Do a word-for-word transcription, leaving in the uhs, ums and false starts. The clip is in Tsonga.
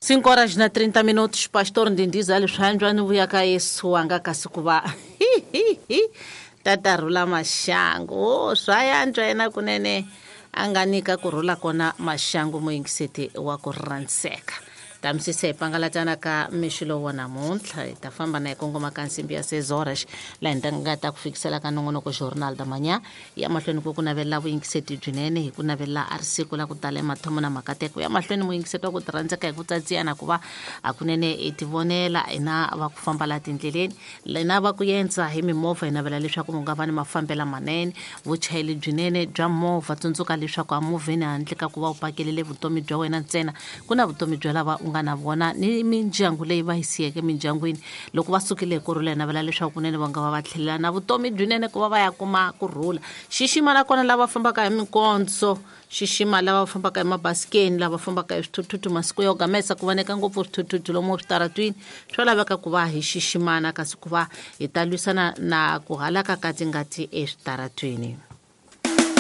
Cinco horas na trinta minutos, pastor Ndindiza Alexandre ni vuya ka Yesu wanga kasi ku va tata rhula maxangu. Oh, swa yantswa yena kunene a nga nyika ku rhula kona maxangu muyingiseti wa ku rhandzeka. Tamisisa hi pangalatana ka mixo lowu wa namuntlha hi ta famba na hi kongoma ka nsimbi ya seis horas laha hi nga ta ku fikisela ka nongonoko Jornal da Manhã ya mahlweni ku ku navelela vuyingiseti byinene hi ku navelela a ri siku la ku tala emathomo na makateko ya mahlweni muyingiseti wa ku tirhandzeka hi ku tsatsiyana ku va hakunene hi tivonela hina va ku famba laha tindleleni hina va ku yendza hi mimovha hi navela leswaku mu nga va ni mafambelo manene vuchayeri byinene bya movha. Tsundzuka leswaku emovheni handle ka ku va u pakelele vutomi bya wena ntsena ku na vutomi bya lava u nga na vona ni mindyangu leyi va yi siyeke mindyangwini loko va sukile hi kurhula hi navela leswaku kunene va nga va va tlhelela na vutomi byinene ku va va ya kuma kurhula. Xixima nakona lava fambaka hi minkondzo, xixima lava fambaka hi mabasikeni, lava fambaka hi swithuthuthu masiku yo gamesa ku voneka ngopfu swithuthuthu lomu switaratwini swa laveka ku va hi xiximana kasi ku va hi ta lwisana na ku halaka ka tingati eswitaratwini.